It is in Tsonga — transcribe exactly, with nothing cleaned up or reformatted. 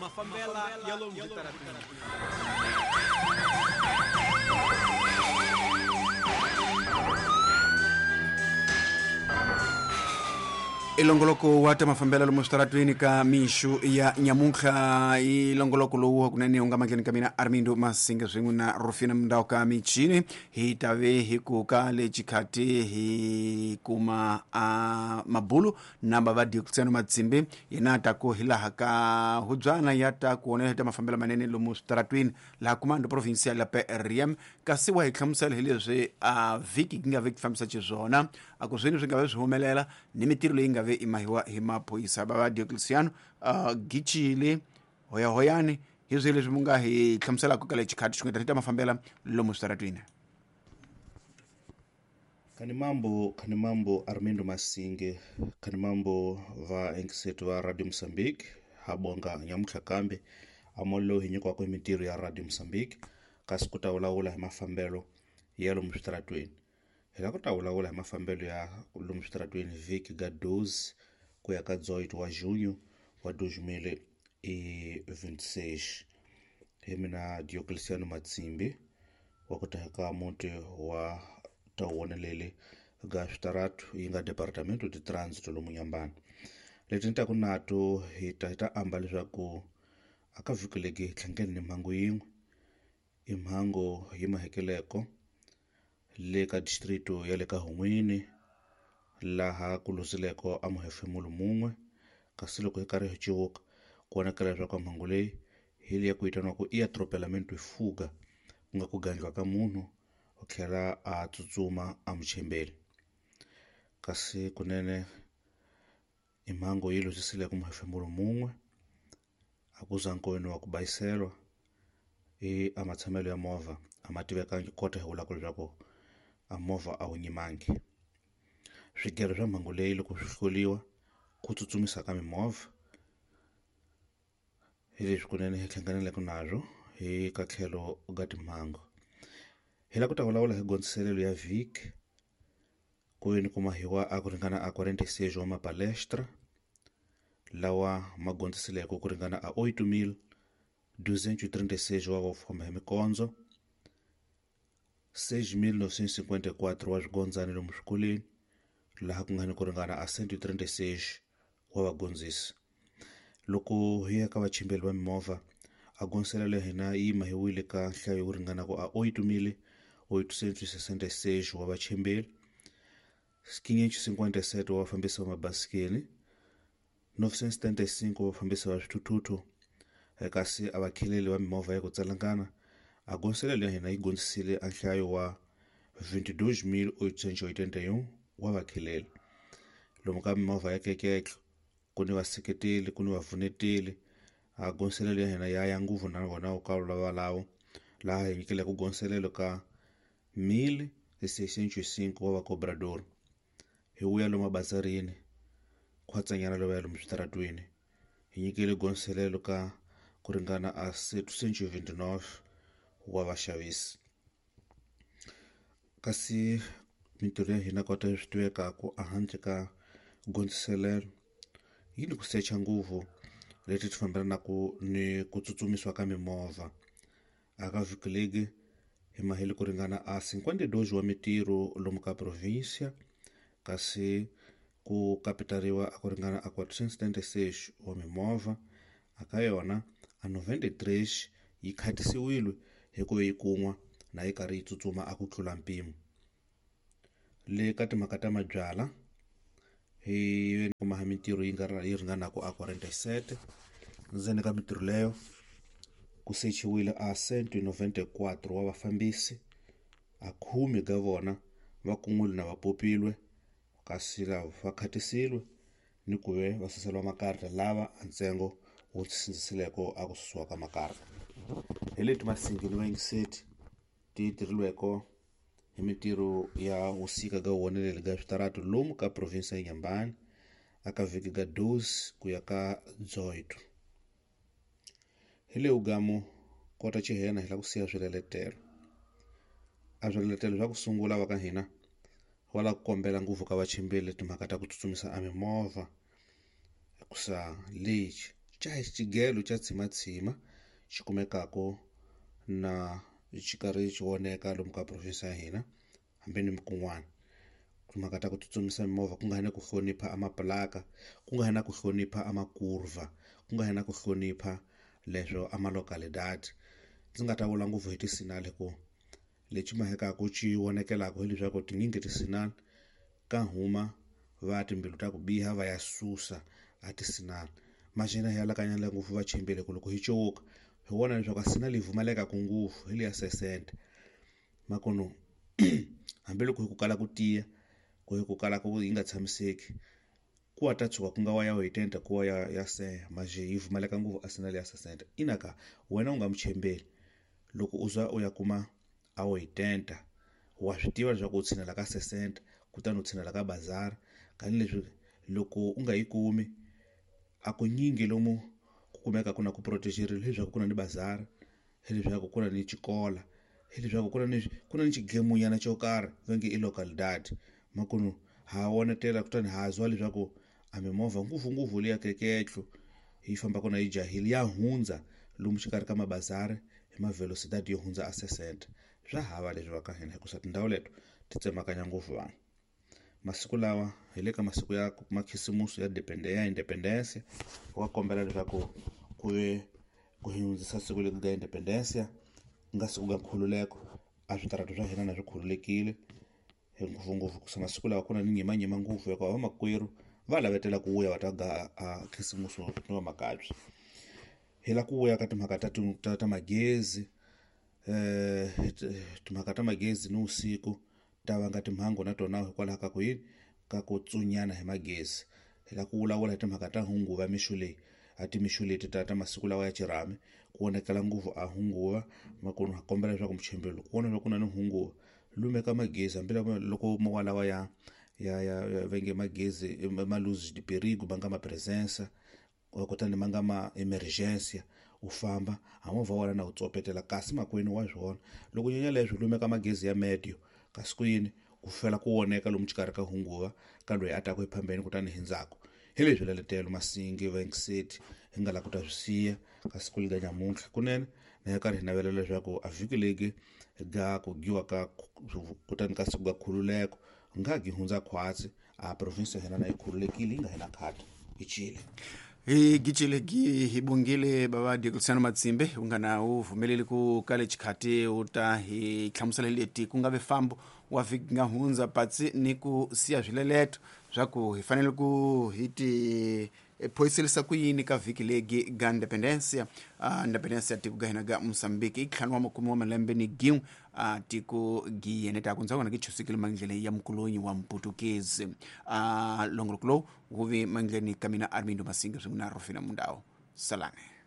Mafambela ya lomu switarateni. Ilongoloko wa ta mafambela lomu switaratweni ka mixu ya nyamuntlha ilongoloko lowu kunene u nga mandleni ka mina Armindo Masinga swin'we na Rufina Mundau ka michini hi tave hi ku ka le xikhati hi kuma a mabulu na bava Diocleciano Matsimbi yena ta ku hi laha ka hubyana ya ta ku onela ta mafambela manene lomu switaratweni laha kumando provincial la P R M kasi wa hi hlamusela hi leswi a vhiki yi nga ve fambisa xiswona a ku swini swi nga ve swi humelela ni mitirho leyi nga ve imahiwa hi maphorisa bava Diocleciano uh, Gichile hoyahoyani hi swi leswi mu nga hi hlamuselaka ka le xikhati xi nga ta mafambela lomu switaratweni. Kani mambo, kani mambo Armindo Masinge, kani mambo va enkisetu va Radio Mozambique, habonga nyamutlha kambe amollo hi nyikiwaka hi mintirho ya Radio Mozambique kasi ku ta vulavula hi mafambelo ya lomu switaratweni. Hi la ku ta vulavula hi mafambelo ya lomu switaratweni vhiki ga doze ku ya ka dezoito wa junho wa dois mil e vinte e seis. Hi mina Diocleciano Matsimbi wa ku ta ka muti wa tawonelele ga switaratu yi nga Departamento de Trânsito lomu Nyambani. Leti ni taku nato hi ta hi ta amba leswaku aka vhiki legi hi tlhangene ni mhangu yin'we i mhangu yi mahekeleko le ka distrito ya le ka Hun'wini laha ku luzileko a muhefemulo mun'we kasi loko hi karhi hi civuka ku vonakala leswaku mhangu leyi hi leyi ku vitaniwaku i atropelamento e fuga ku nga ku gandliwa ka munhu u tlhela a tsutsuma a muchembeli kasi kunene i mhangu yi luzisile ku muhefemulo mun'we a ku za nkoweni wa ku bayiselwa i a matshamelo ya movha a ma tivekangi kota hi vulaka leswaku a movha a wu nyimangi. Swigero swa mhangu leyi loko swi hloliwa ku tsutsumisa ka mimovha hi leswi kunene hi hlanganeleke nazwo hi ka tlhelo ga timhangu. Hi la ku ta vulavula hi gondziselelo ya vhiki ku ve ni kumahiwa a ku ringana a quarenta e seis wa mapalestra lawa ma gondziseleke ku ringana a oito mil duzentos e trinta e seis wa va famba hi mikondzo seis mil novecentos e cinquenta e quatro wa swigondzani lomu swikolweni laha ku nga ni ku ringana a cento e trinta e seis wa vagondzisi. Loko hi ya ka vachimbeli va mimovha a gondziselelo ya hina yi mahiwile ka nhlayo yo ringana ku a oito mil oitocentos e sessenta e seis wa vachimbeli, quinhentos e cinquenta e sete wa vafambisi va mabasikeli, novecentos e setenta e cinco wa vafambisi va swithuthuthu kasi a vakheleli va mimovha ya ku tsalangana a gondziselelo ya hina yi gondzisile a nhlayo wa vinte e dois mil oitocentos e oitenta e um wa vakheleli. Lomu ka mimovha ya keketlo ku ni vaseketeli ku ni vavuneteli a gondziselelo ya hina ya ya nguvu na vona ka valavo laha hi nyikileke gondziselelo ka mil seiscentos e cinco wa vacobrador. Hi vuya lomu mabazarini khwatsanyana lowu ya lomu switaratweni hi nyikile gondziselelo ka ku ringana a setecentos e vinte e nove wa vaxavisi. Kasi mintirho ya hina kota swi tivekaku ehandle ka gondziselelo yi ni ku secha nguvu leti ti fambelanaka ni ku tsutsumisiwa ka mimovha. Aka vhiki legi hi mahele ku ringana a cinquenta e dois wa mitirho lomu ka província kasi ku kapitariwa a ku ringana a quatrocentos e setenta e seis wa mimovha aka yona a noventa e três yi khatisiwile hi ku yi kun'wa na yi karhi yi tsutsuma a ku tlula mpimo. Le ka timhaka ta mabyala hi kuma mintirho yi nga yi ringanaka a quarenta e sete ndzeni ka mintirho leyo ku sechiwile a cento e noventa e quatro wa vafambisi a khume ka vona va kun'wile na va popilwe kasi lava va khatisiwe ni ku ve va suseliwa makarata lava a ntsengo wu sindzisileko a ku susiwa ka makarata. Hi leti Masingi ni vayingiseti ti tirhilweko hi mintirho ya wusika ga wonelele ga switaratu lomu ka province ya Nyambani aka vhiki ga doze ku ya ka dezoito. Hi le ugamo kota chihena hi la ku siya swileletelo. A swileletelo swa ku sungula va ka hina va la ku kombela nguvu ka vachimbeli timhaka ta ku tsutsumisa a mimovha hikusa lexi Xa xigelo xa tshimatshima xi kumekaka na xi karhi xi voneka lomu ka province ya hina hambi ni kun'wana. Timhaka ta ku tsutsumisa mimovha ku nga ri na ku hlonipha a mapulaka, ku nga ri na ku hlonipha a makurva, ku nga ri na ku hlonipha leswo a ma-localidade. Ndzi nga ta vula ngopfu hi ti-signal ku lexi mahekaku xi vonekelaka hileswaku tinyingi ti-signal ka huma va timbilu ta ku biha va ya susa a ti-signal. Maxena hi alakanyela ngopfu va chembele ku loko hi cuka hi vona leswaku a signal yi pfumaleka ngopfu hi liya sesente makono hambiloko hi ku kala ku tiya ku hi ku kala ku yi nga tshamiseki ku wa ta tshuka ku nga wa ya wetenta ku wa ya ya seya manje yi pfumaleka ngopfu a signal ya sesente. Ina ka wena u nga muchembeli loko u za u ya kuma a wetenta wa swi tiva leswaku u tshinela ka sesente kutani u tshinela ka bazari tanihileswi loko u nga yi kumi a ku nyingi lomu ku kumeka ku na ku protect-eriwa hileswaku ku na ni bazari, hileswaku ku na ni xikola, hileswaku ku na ni ku na ni xigemunyana xo karhi va nge i localidade. Makunu ha vonetela kutani ha zwa leswaku a mimovha ngopfungopfu liya keketlo yi fambaka na yi jahile ya hundza lomu xikarhi ka mabazari hi ma-velocidade yo hundza a sesente. Swa hava leswi va ka hina hikusa tindhawu leto ti tsemakanya ngopfu vanhu. Masiku lawa hi le ka masiku ya makhisimusi ya ya independence wa kombela leswaku ku ve ku hundzisa siku leri nga independence ku nga siku ga nkhululeko a switarata swa hina na swi khululekile hi ngopfungopfu ku masiku lawa ku na ni nyimanyima ngopfu hikuva vamakwerhu va lavetela ku vuya va ta ga a khisimusi ni va makabye. Hi la ku vuya ka timhaka ta ta ta magezi eh timhaka ta magezi ni usiku ta vanga timhangu na tona hikwalaho ka ku yini ka ku tsunyana hi magezi. Hi la ku vulavula hi timhaka ta hunguva mixo leyi a timixo leti ta ta masiku lawa ya xirhami ku vonakala ngopfu a hunguva makunu ha kombela leswaku muchembeli ku vona leswaku ku na ni hunguva lumeka magezi hambi loko mo lawa ya ya ya va nge magezi ma luz de perigo ma nga ma presença kutani ma nga ma emergência u famba a movha wa wena na wu tsopetela kasi makwenu wa swona loko nyanya leswi lumeka magezi ya medio kasi ku yini ku fela ku voneka lomu xikarhi ka hunguva ka loyi a taka ephambeni kutani hi ndzhaku. Hi leswi leletelo Masingi Venkiseti hi nga la ku ta swi siya ka siku lega nyamuntlha kunene na hi karhi hi navela leswaku a vhiki legi ga ku giwa ka kutani ka siku ga khululeko nga gi hundza khwatsi a province ya hina na yi khululekile yi nga hina khata hi Chile. Hi gicile gi hi bongile bava Diocleciano Matsimbe u nga na u vumeleli ku kale xikhati u ta hi hlamusela leti ku nga ve fambo wa vhiki nga hundza patsi ni ku siya swileleto swa ku hi fanele ku hi ti phoyiselisa ku yini ka vhiki legi ga independencia uh, independencia tiko ga hina ga Mozambique i ntlhanu wa makume wa malembe ni gin'we uh, tiko gi yene ta ku ndzhaku ki chusikile mandlele ya mkulonyi wa mputukezi. uh, longoloko lowu wu vi mandleni ka mina Armindo Masinga swin'we na Rufina Mundau. Salane.